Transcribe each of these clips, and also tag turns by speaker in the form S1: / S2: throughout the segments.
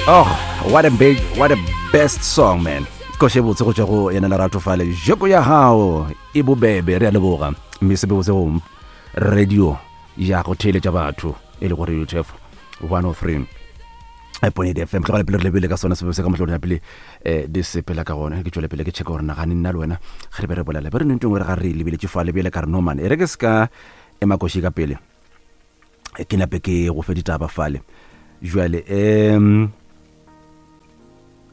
S1: Oh, what a big, what a best song, man. Koše botse go tšwa go yena Lerato fale. Joko ya gago e bobebe, re a leboga. Mme se botse go radio ya go theeletša batho e le go Radio Turf 103. Point FM tlogela pele re lebele ka sona sebe se ka mohlolo ya pele eh di sepela ka gona ke tšwele pele ke checka gore nagane nna le wena ge re be re bolela be re nentong re ga re lebeletše fale bjale ka re no man e re ke se ka ema koši ka pele ke nape ke go fe ditaba fale jwale um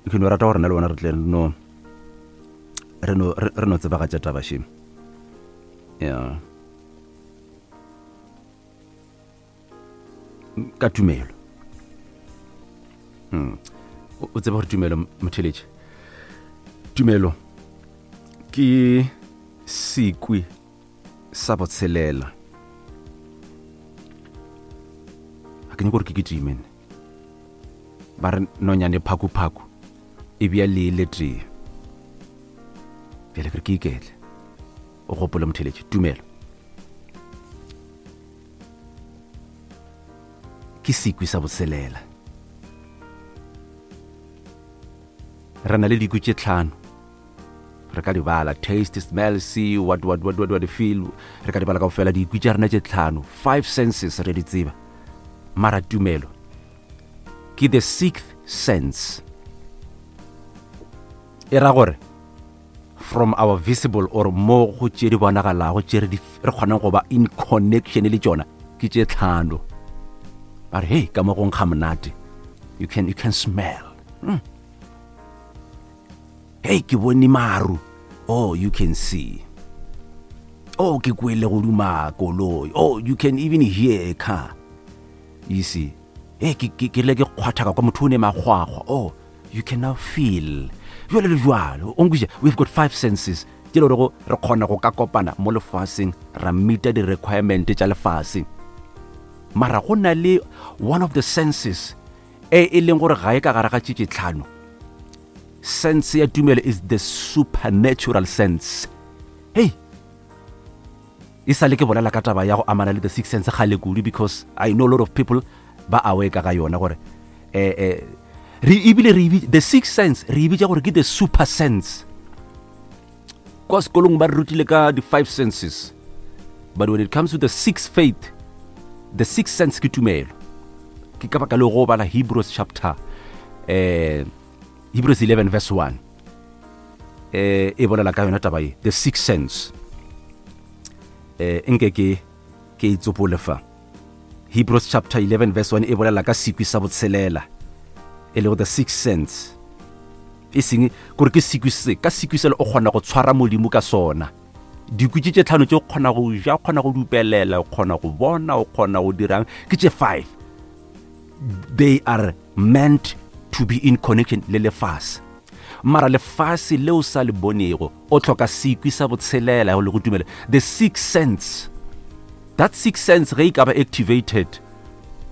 S1: ke no rata gore na le wena re tle no re no re no tsebagatša taba še ya ka tumelo hmm. o tseba gore tumelo motheletše tumelo ke sekwi sa botshelela ga ke nyako gore ke kitime ba re nonyane phakuphaku e bja lee le tee bjale ke re ke iketle o gopole motheletše tumelo ke sekwi sa boselela re na le dikwi tše tlhano re ka di bala taste smell see what what what what, what feel re ka di bala kaofela dikwi tša rena tše tlhano five senses re di tseba mara tumelo ke the sixth sense e ra gore from our visible or mo go tše di bonagalago tše re kgonang go ba in connection le tšona ke tše tlhano ba re hey ka mo go nkga monate you can, you can smell mm. hey ke bone maru oh you can see oh ke kwele go duma koloi oh you can even hear a car you see hey ke ke rile ke kgwathaka kwa motho o ne magwagwa oh you can now feel jalo le jalo o nkwiša we've got five senses tše le gorego re kgona go ka kopana mo lefaseng ra meeta di-requirement tša lefase mara go na le one of the senses e e leng gore ga e ka gare ga tše tlhano sense ya tumelo is the supernatural sense hey E sa le ke bolela ka taba ya go amana le the sixth sense kgale kudu because I know a lot of people ba aware ka ga yona gore eh, eh, re ebile re the sixth sense re e bitša gore ke the super sense. Kwa sekolong ba re rutile ka the five senses but when it comes to the sixth faith the sixth sense ke tumelo. Ke ka baka le go bala Hebrews chapter eh, Hebrews 11 verse 1 eh e bolela ka yona taba ye the sixth sense eh nke ke ke itsopole fa Hebrews chapter 11 verse 1 e bolela ka sekwi sa botshelela e lego the sixth sense e seng gore ke sekwi se ka sekwi sele o kgona go tshwara modimo ka sona dikwi tše tše tlhano tše o kgona go ja o kgona go dupelela o kgona go bona o kgona go dirang ke tše five they are meant to be in connection le lefase mara lefase leo sa le bonego o tlhoka sekwi sa botshelela le go tumela the sixth sense that sixth sense ge e ka ba activated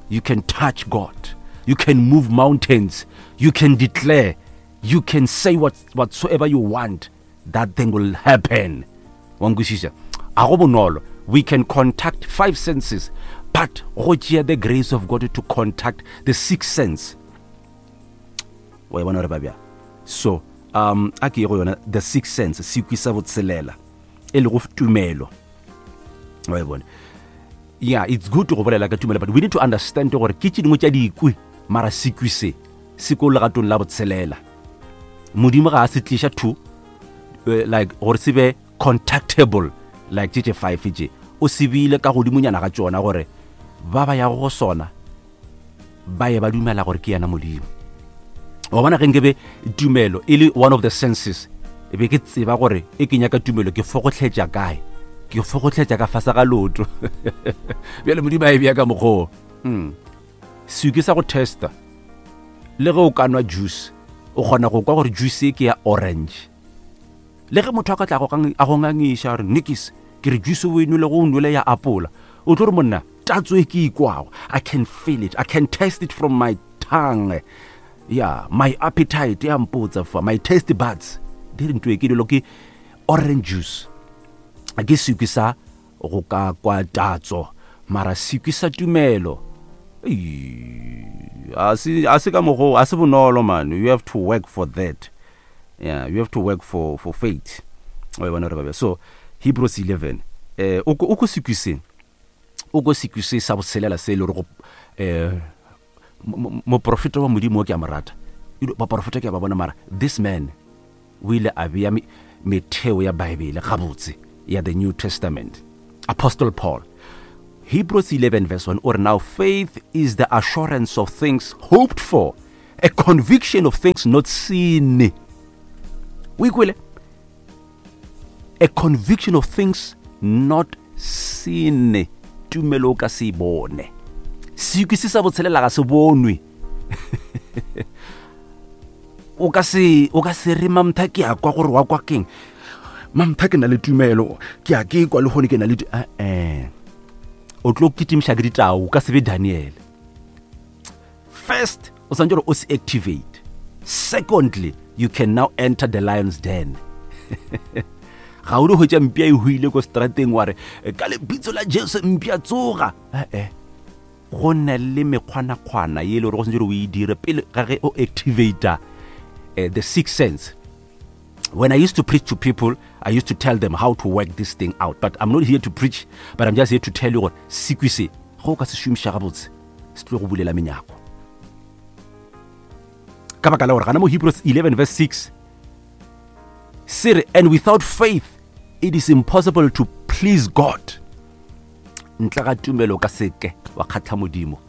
S1: you can touch god you can move mountains you can declare you can say what, whatsoever you want that thing will happen wa nkwešiša a go bonolo we can contact five senses but go tšea the grace of god to contact the sixth sense wa e bona gore ba bjang so um a ke ye go yona the sixth sense sekwi sa botshelela e lego tumelo wa e bona yeah it's good go bolela ka tumelo but we need to understand gore ke tše dingwe tša dikwi mara sekwi se se ko legatong la botshelela modimo ga a se tliša to eh, like gore se be contactable like tše tše five tše o se beile ka godimonyana ga tšona gore ba ba yago go sona ba ye ba dumela gore ke yena modimo wa bona ge nkebe tumelo e le one of the senses e be ke tseba gore e ke nyaka tumelo ke fogohletša kae ke fogohletša ka fase ga loto bjale modimo a e bea ka mokgoo mm. Seke sa go testa le ge o ka nwa juice o kgona go kwa gore juice e ke ya orange le ge motho a ka tla a go ngangiša gore nikis ke re juice o e nwele go o nwele ya apola o tlo re monna tatso e ke ikwago i can feel it i can taste it from my tongue yeah my appetite ya mpotsa fa my taste buds di re nto e ke dilo ke orange juice ke sekwi sa go ka kwa tatso mara sekwi sa tumelo. A se a se ka mogo a se bonolo man you have to work for that yeah you have to work for for faith o e bona re babe so Hebrews 11 eh o ko o ko sekwiseng o ko sekwise sa botshelela se e le gore eh moprofeta wa modimo o ke a mo rata baprofeta ke a ba bona mara this man o ile a bea metheo ya baebele gabotse ya the new testament apostle paul hebrews 11 verse 1 or now faith is the assurance of things hoped for a conviction of things not seen o ikwele a conviction of things not seen tumelo o ka se e bone sekwi se sa botshelela ga se bonwe o ka se o ka se re mamtha ke a kwa gore wa kwa keng mamtha ke na le tumelo ke a ke kwa le gone ke na le eh o tlo kitimiša ke ditao o ka se be daniel first o santse gore o se activate secondly you can now enter the lion's den ga o di hwetša mpia e hwile ko strateng wa re ka lebitso la jesu mpia tsoga ee go na le mekgwanakgwana ye e le gore go santse gore o e dire pele ga ge o activata eh, the sixth sense when I used to preach to people, I used to tell them how to work this thing out. But I'm not here to preach, but I'm just here to tell you gore sekwi se go ka se šomiša gabotse se tlo go bulela menyako. Ka baka la gore gana mo Hebrews 11 verse 6 se re and without faith it is impossible to please God. Ntle ga tumelo ka seke wa kgatlha Modimo.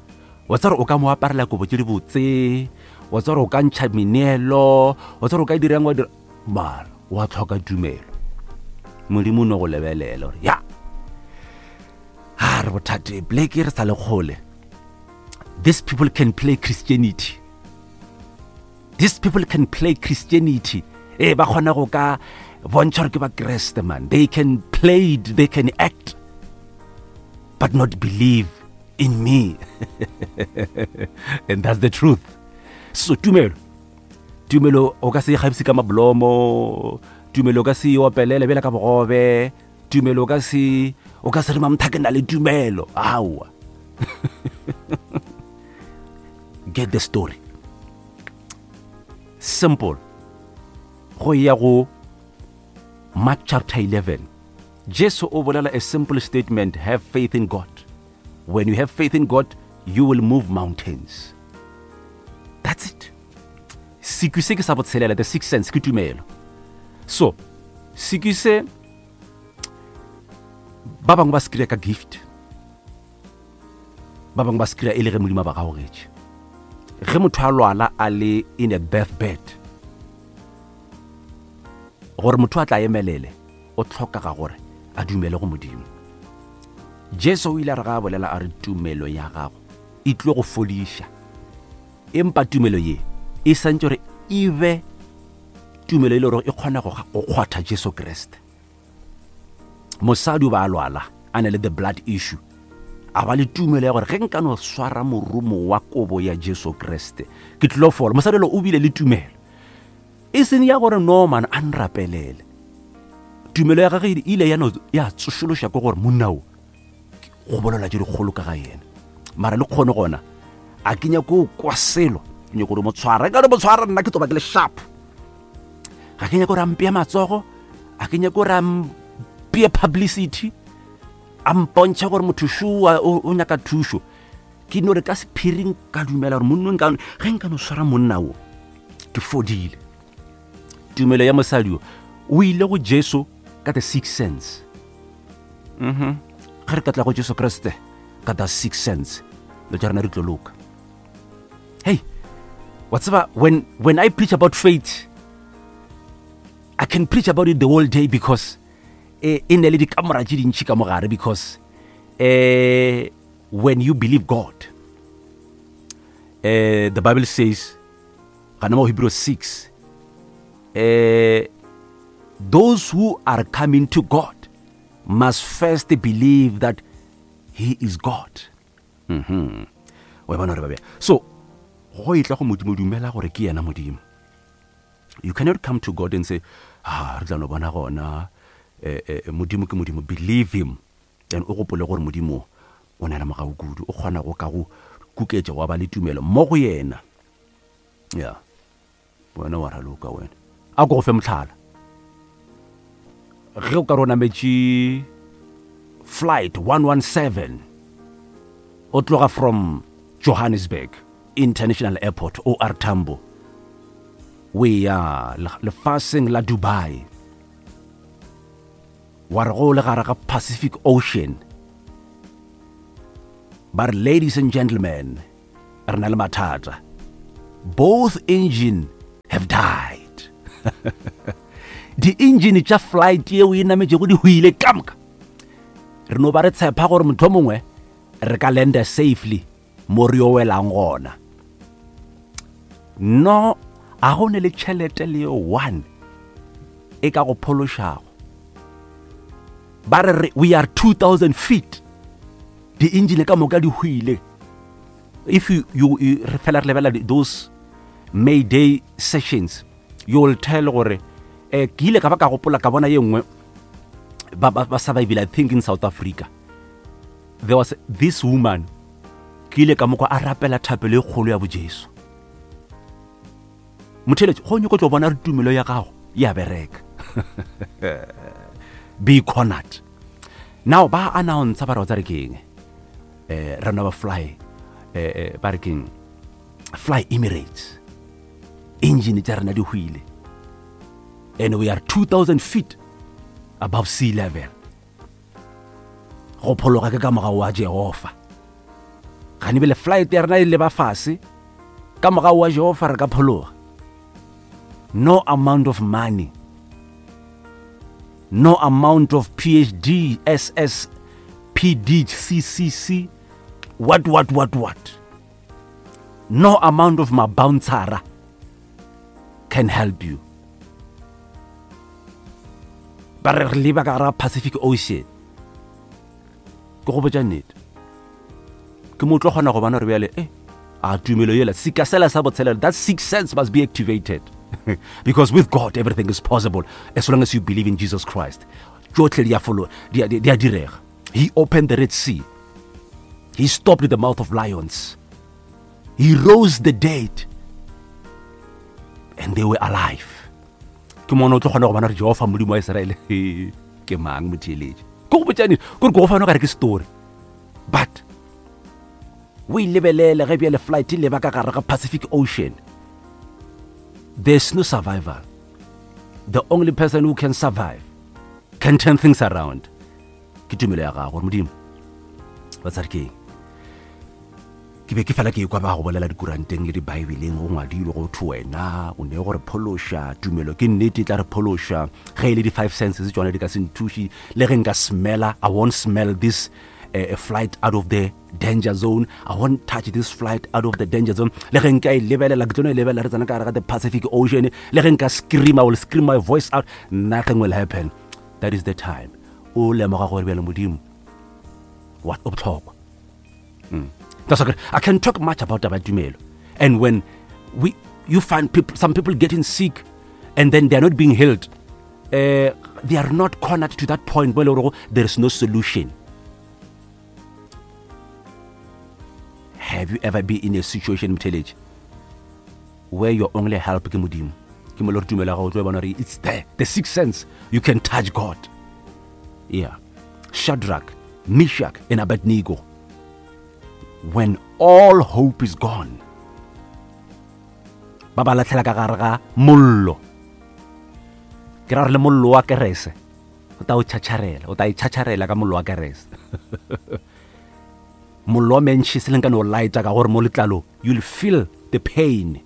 S1: Wa tsare o ka mo aparela kobo tse di botse, wa tsare o ka ntšha meneelo, wa tsare o ka dirang wa dira mara wa tlhoka tumelo. Modimo o no go lebelela gore ya ha re bothate blake re sa le kgole these people can play christianity these people can play christianity ee ba kgona go ka bontšha gore ke ba kreste man they can play it they can act but not believe in me and that's the truth so tumelo tumelo o ka se ikgabise ka mablomo tumelo o ka se opelele bjela ka bogobe tumelo o ka se o ka se re mamtha ke na le tumelo aowa get the story simple go ya go mark chapter 11 jesu o bolela a simple statement have faith in god when you have faith in god you will move mountains that's it sekwi se ke sa botshelela the sixth sense ke tumelo so sekwi se ba bangwe ba se kry-a ka gift ba bangwe ba se kry-a e le ge modimo a ba gaogetše ge motho a lwala a le in a death bed gore motho a tla emelele o tlhokaga gore a dumele go modimo jesu o ile a re ga a bolela a re tumelo ya gago e tlo go fodiša empa tumelo ye e santse gore e be tumelo e le gore e kgona go kgwatha jesu kriste mosadi o ba a lwala a na le the blood issue a ba le tumelo ya gore ge nka no swara morumo wa kobo ya jesu kriste ke tlilo fola mosadi lo o bile le tumelo e seng ya gore no man a nrapelele tumelo ya gage e ile ya no ya tsošološa ke gore monna o go bolela tše dikgolo ka ga yena mara le kgone gona a ke nyako o kwa selo ke nyako gore mo tshwara ka re mo tshwara nna ke toba ke le sharp ga ke nyako gore a mpea matsogo a ke nyako gore a mpee publicity a mpontšha gore motho šoa o nyaka thušo ke no re ka sephiring ka dumela gore monnong ka ge nka no swara monna o ke fodile tumelo ya mosadi o o ile go jesu ka the six sense mhm ge re ka tla go jesu kriste ka the six sense lo tša rena di tlo loka hey wa tseba when, when i preach about faith i can preach about it the whole day because e, e ne le dikamora tše dintšhi ka mogare because eh, when you believe god eh, the bible says gana mo hebrew 6 eh, those who are coming to god must first believe that he is god mm -hmm. wa bona gore babea so go e tla go modimo dumela gore ke yena modimo you cannot come to god and say ah re tla no bona gona eh, eh, modimo ke modimo believe him and o gopole gore modimo o na le mogau kudu o kgona go ka go kuketša wa ba le tumelo mo go yena. Ya. Wena wa raloka wena. A ko go fe mohlala. Ge o ka re o nametše flight 117 o tloga from Johannesburg International Airport OR Tambo o eya lefaseng la Dubai wa re go le gare ga Pacific Ocean ba re ladies and gentlemen re na le mathata both engine have died di-engine tša flight yeo e nametšego di hwile ka moka re no ba re tshepa gore motho mongwe re ka landa safely mo re yo welang gona no a go ne le tšhelete le yo one e ka go phološago ba re we are 2000 feet di-engine ka moka di hwile if you, you, you re fela re lebelela those mayday sessions you will tell gore eh ke ile ka ba ka gopola ka bona ye nngwe ba ba ba survivile i think in south africa there was this woman ke ile ka mokwa a rapela thapelo e kgolo ya bojesu motheletši go nyoko tlo bona re tumelo ya gago ya bereka be cornered now ba announce ba re wa tsare keng eh re ba fly eh, eh ba re keng fly emirates engine tša rena di hwile and we are 2000 feet above sea level go phologa ke ka mogao wa jehofa gane bele flight ya rena e leba fase ka mogao wa jehofa re ka phologa no amount of money no amount of phd ss pd ccc what what what what no amount of mabouncera can help you ba re re leba ka gara pacific ocean ke go botša nnete ke mo tlo kgona go bona gore bjale e a tumelo yela seka sela sa botshelela that six sense must be activated because with god everything is possible as long as you believe in jesus christ tšotlhe di a folo di a direga he opened the red sea he stopped the mouth of lions he rose the dead and they were alive ke mona o tlo kgona go bona gore jehofa modimo wa iseraele ke mang motheeletše ke go botšane kore ke go fano kare ke story but o e lebelele ge bjale flight e leba ka gare ga pacific ocean there's no survival the only person who can survive can turn things around ke tumelo ya gago gore modimo ba tsare ke eng ke be ke fela ke ekwa ba go bolela dikuranteng le dibaebeleng go ngwadilwe go thwe wena o ne go re phološa tumelo ke nnete e tla re phološa ge e le di-five senses tsone di ka se nthuše le ge nka smela i won't smell this uh, flight out of the danger zone i won't touch this flight out of the danger zone le ge nka e lebelela ke tlo no e lebelela re tsena ka gare ga the pacific ocean le ge nka scream i will scream my voice out nothing will happen that is the time o lemoga gore bjale modimo what o botlhokwa mm. that's okay. i can talk much about taba tumelo and when we you find people some people getting sick and then they are not being healed uh, they are not cornered to that point where there is no solution have you ever been in a situation mtheletse where your only help ke modimo ke mo le gore tumelo ya gago tlo e bona gore it's there the sixth sense you can touch god yeah shadrach meshach and abednego when all hope is gone ba ba latlhela ka gare ga mollo ke ra gore le mollo wa kerese o ta o tšhatšharela o ta e tšhatšharela ka mollo wa kerese mollo wa mentšhi se leng ka no lighta ka gore mo letlalo you'll feel the pain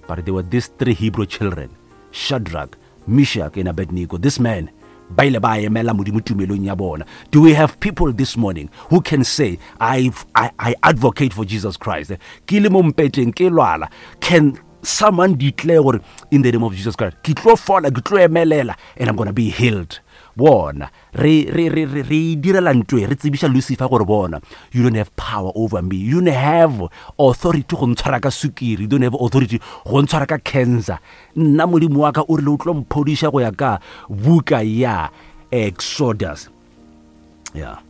S1: but there were these three hebrew children shadrach meshach and abednego this man ba ile ba emela modimo tumelong ya bona do we have people this morning who can say I, I, I advocate for jesus christ ke le mo mpeteng ke lwala can someone declare gore in the name of jesus christ ke tlo fola ke tlo emelela and i'm gonna be healed bona re re re re re e direla ntwe re tsebiša lucifer gore bona you don't have power over me you don't have authority go ntshwara ka sukiri you don't have authority go ntshwara ka cancer nna modimo wa ka o rile o tlo mphodiša go ya ka buka ya exodus yeah.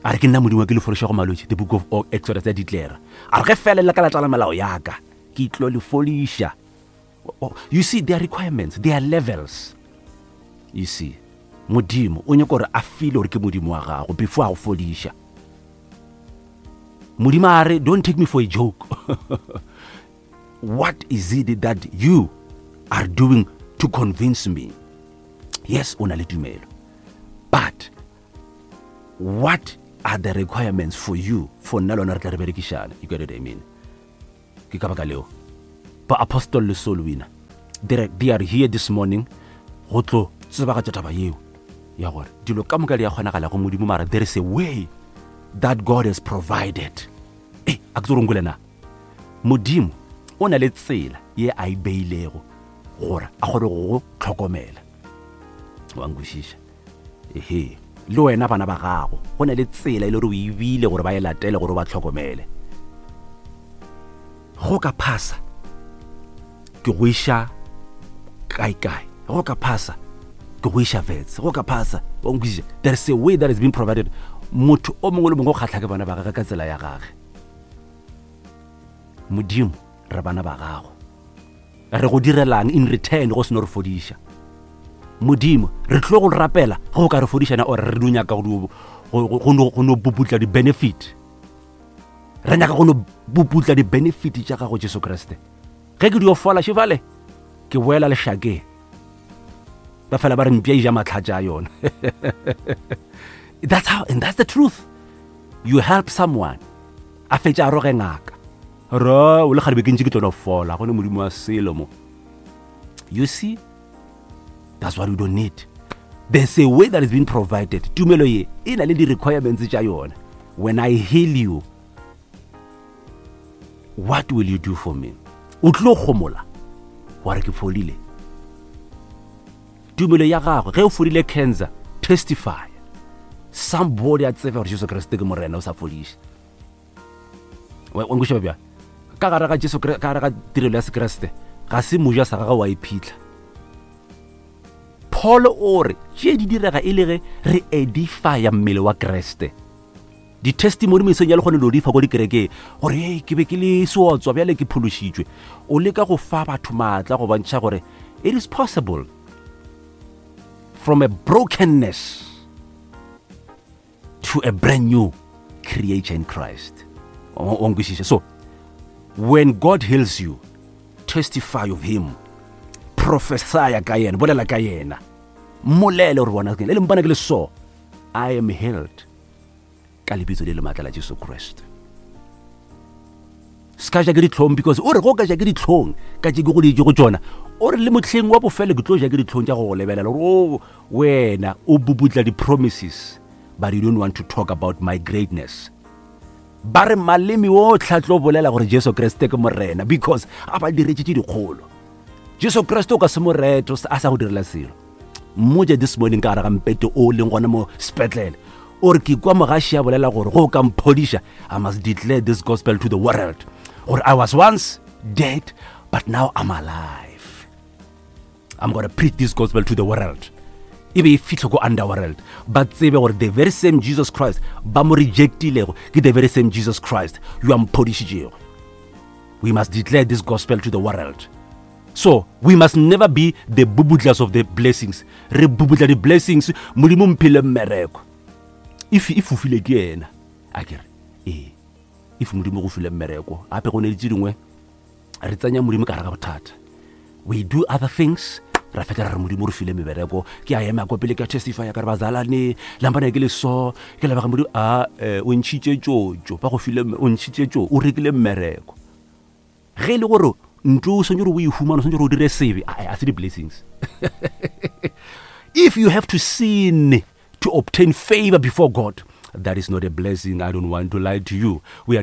S1: A re ke nna Modimo wa ke le fodiša go malwetši, the book of Exodus ya declare. A re ge fela le ka latela melao ya ka, ke tlo le fodiša. Oh, you see, there are requirements, there are levels. You see, Modimo o nyaka gore a feel gore ke Modimo wa gago before a go fodiša. Modimo a re, don't take me for a joke. What is it that you are doing to convince me? Yes, o na le tumelo. But what are the requirements for you for nna lona re tla re berekišana? You get what I mean? Ke ka baka leo ba apostle le soul winner they are here this morning go tlo tsebagatša taba yeo ya gore dilo ka moka di a kgonagala go Modimo, mara there is a way that God has provided. E a ke tse gore na Modimo o na le tsela ye a e beilego gore a kgone go go tlhokomela. Wa nkwešiša? Ehe, le wena bana ba gago go na le tsela e le gore o e bile gore ba e latele gore o ba tlhokomele. Go ka phasa ke go iša kae-kae, go ka phasa ke go iša vets, go ka phasa wa nkwešiša? There is a way that has been provided. Motho o mongwe le mongwe o kgatlha ke bana ba gage ka tsela ya gage. Modimo, re bana ba gago, re go direlang in return go seno re fodiša? Modimo, re tlo go rapela ge o ka re fodišana, or re no nyaka go no puputla di-benefit? Re nyaka go no puputla di-benefit tša gago Jesu Kriste. Ge ke dio fola šefale, ke boela lešakeng, ba fela ba re mpša e ja matlhatša a yona. That's how, and that's the truth. You help someone, a fetša a roge ngaka, ra o le kgale be ke ntše ke tlo no fola, go ne Modimo wa selo mo. You see, that's what we don't need. There's a way that has been provided. Tumelo ye e na le di-requirements tša yona. When I heal you, what will you do for me? O tlo gomola wa re ke fodile. Tumelo ya gagwe, ge o fodile cancer, testify. Somebody a tsebe gore Jesu Kriste ke Morena, o sa fodiše. Wa nkwešiša bjang? Ka gare ga Jesu, ka gare ga tirelo ya Sekriste, ga se moja sa gagwe wa iphitlha. Paul o re tše di direga e le ge re edifya mmele wa Kriste. Di-testimony mesong ya lekgone lo di fa ko dikerekeng gore hey, ke be ke le seotswa bjale ke phološitšwe. O leka go fa batho maatla go bontšha gore it is possible from a brokenness to a brand new creature in Christ. O nkwešiša? So when God heals you, testify of him, prophesy ka yena, bolela ka yena, mmolele gore bona le mpana ke le so, I am healed ka lebitso le le maatla la Jesu Kriste. Se ka ja ke ditlhong, because o re go ka ja ke ditlhong ka tše ke go dietse go tšona, o re le motlheng wa bofelo ke tlo ja ke ditlhong tša go go lebelela gore o wena o bubutla di-promises, but you don't want to talk about my greatness. Ba re maleme otlhe a tlo bolela gore Jesu Kriste ke Morena, because a ba diretse tše dikgolo. Jesu Kriste o ka se mo rete a sa go direla selo. Mmotse this morning ka gare ga mpete o leng gona mo sepetlele, o re ke kwa mogaši a bolela gore go ka mphodiša, I must declare this gospel to the world, gore I was once dead but now I'm alive. I'm gonna preach this gospel to the world. E be e fihle ko underworld, ba tsebe gore the very same Jesus Christ ba mo rejectilego ke the very same Jesus Christ yo a mphodišitšego. We must declare this gospel to the world. So we must never be the bubudlers of the blessings. Re bubudla the blessings, Modimo mphile mmereko. If e fofile ke yena, a ke re, ee, if Modimo go file mmereko, gape go ne le tše dingwe re tsenya Modimo ka gare ga bothata. We do other things, ra fetla ra re Modimo re file mebereko. Ke a ema ko pele ka testify ka re bazalane, lampana ke le so, ke leboga Modimo, a o ntšhitše tšotšo, ba go file, o ntšhitše tšo, o rekile mmereko. Ge e le gore ntlo o swanetše gore o e humane, o swanetše gore o dire sebe, a se di-blessings. If you have to sin to obtain favor before God, that is not a blessing. I don't want to lie to you. We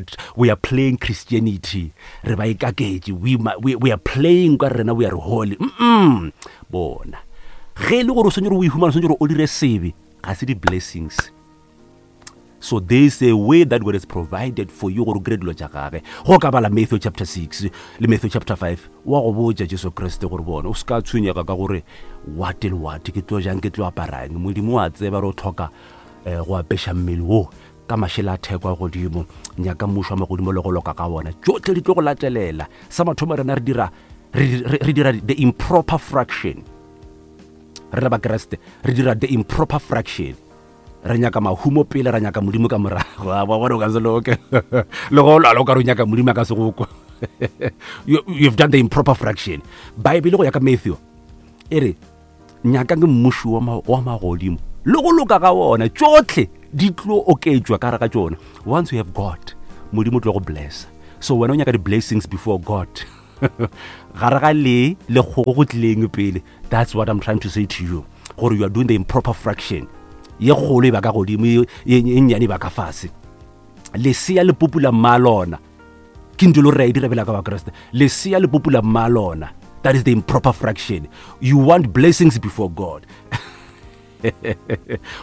S1: are playing Christianity. Re ba ikaketše. We are playing ka rena, we are holy. Bona. Ge e le gore o swanetše gore o e humane, o swanetše gore o dire sebe, ga se di-blessings. So there is a way that God has provided for you gore o kry-e dilo tša gage. Go ka bala Matthew chapter 6 le Matthew chapter 5, wa go botša Jesu Kriste gore bona o se ka tshwenyega ka gore what and what, ke tlo jang, ke tlo aparang. Modimo wa tseba gore o tlhoka go apeša mmele wo. Ka mašela a theko a godimo, nyaka mmušo wa magodimo le go loka ka wona. Tšohle di tlo go latelela. Sa mathomo rena re dira, re, re, re dira the improper fraction. Re le Bakriste, re dira the improper fraction. Re nyaka mahumo pele, ra nyaka Modimo ka morago. A ba bona o ka se loke. Le go lwala o ka re o nyaka Modimo a ka se go kwa. You, you've done the improper fraction. Bible go ya ka Matthew e re Nyakang mmušo wa, wa magodimo le go loka ga wona, tšohle di tlo oketšwa ka gare ga tšona. Once you have God, Modimo o tlo go blessa. So wena o nyaka di-blessings before God. Gare ga le le kgogo go tlileng pele. That's what I'm trying to say to you. Gore you are doing the improper fraction. Ye kgolo e ba ka godimo, ye nnyane e ba ka fase. Lesea le pupula mma lona. Ke ntho e le gore re a e dira bjalo ka Bakriste. Lesea le pupula mma lona. That is the improper fraction. You want blessings before God.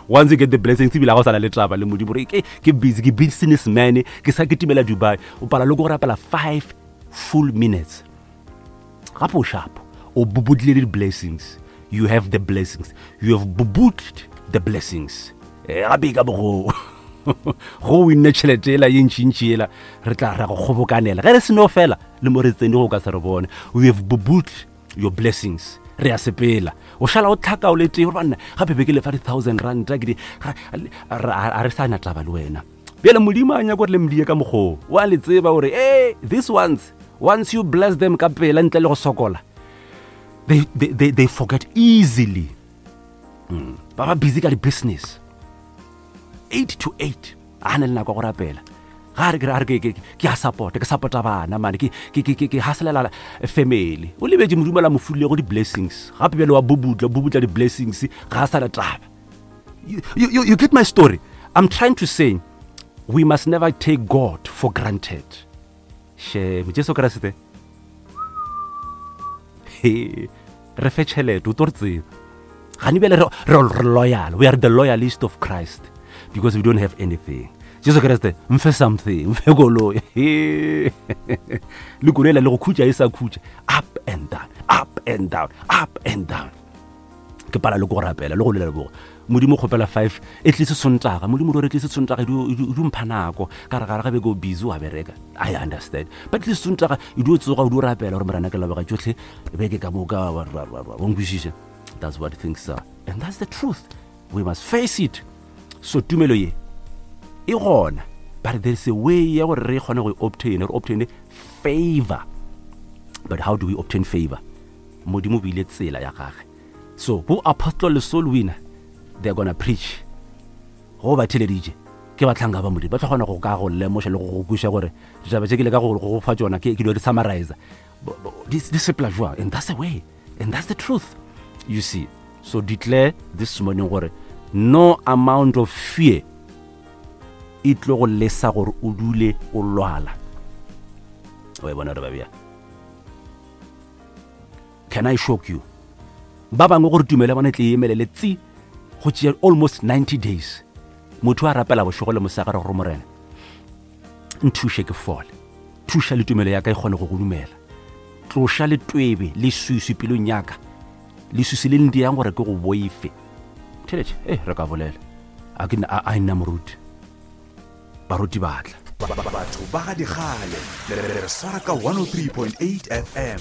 S1: Once you get the blessings, ebile ga o sa na le taba le Modimo, gore ke, ke busy, ke businessman, ke sa kitimela Dubai. O pala le go rapela 5 full minutes. Gape o sharp. O bubudile di-blessings. You have the blessings. You have bubudled the blessings. Gape e ka bo go go winne tšhelete ela ye ntšintši ela, re tla ra go kgobokanela. Ge re seno fela, le mo re tsene go ka se re bone. We have bubudled your blessings. Re a sepela. O šala o tlhaka o le tee, gore banna, gape be ke lefa di-thousand ranta, ke di, ga, a re sa na taba le wena. Bjale Modimo a nyaka gore le mdie ka mokgoo. O a le tseba gore, hey, these ones, once you bless them ka pela ntle le go sokola, they forget easily. Ba ba busy ka di-business. 8 to 8, a na le nako ya go rapela. Ga a re, ke re, a re, ke, ke, ke a support, ke supporta bana, mane, ke, ke, ke, ke, ke hustlela family. O lebetše Modimo la mo fulego di-blessings. Gape bjale wa bubutla, bubutla di-blessings, ga a sa le taba. You get my story? I'm trying to say, we must never take God for granted. Shame, Jesu Kriste. He, re fe tšhelete, o tlo re tseba. Gane bjale re loyal. We are the loyalist of Christ because we don't have anything. Jesu Kriste, mfe something, mfe koloi. Le koloi le go khutša e sa khutša. Up and down, up and down, up and down. Ke pala le go rapela le go lela bogo. Modimo kgopela 5 e tlise Sontaga. Modimo re tlise Sontaga e di mpha nako. Ka re gare ga beke o busy wa bereka. I understand. But tlise Sontaga e di o tsoga o di o rapela gore morena ke leboga tšohle beke ka moka wa wa wa wa nkwešiše. That's what things are. And that's the truth. We must face it. So tumelo ye e gona, but there is a way ya gore re kgone go obtain, re obtain favor. But how do we obtain favor? Modimo o beile tsela ya gage. So bo apostle le soul winner, they're gonna preach. Go ba theleditše ke bahlanka ba Modimo, ba tla kgona go ka go lemoša le go go kweša gore ditaba tše ke leka go go fa tšona, ke dilo di summarize. Di sepela jwang? And that's the way, and that's the truth. You see. So declare this morning gore no amount of fear e tlo go lesa gore o dule o lwala. O e bona re ba bjang? Can I shock you? Ba bangwe gore tumelo ya bona e tle e emelele tsi go tšea almost 90 days. Motho a rapela bošego le mosegare gore Morena nthuše ke fole, thuša le tumelo ya ka e kgone go go dumela, tloša le twebe le swiswi pelong ya ka, leswiswi le ndiyang gore ke go boife. Theletše, re ka bolela. A ke a nna moruti. Baruti ba tla.
S2: Batho ba ga dikgale, le re swara ka 103.8 FM.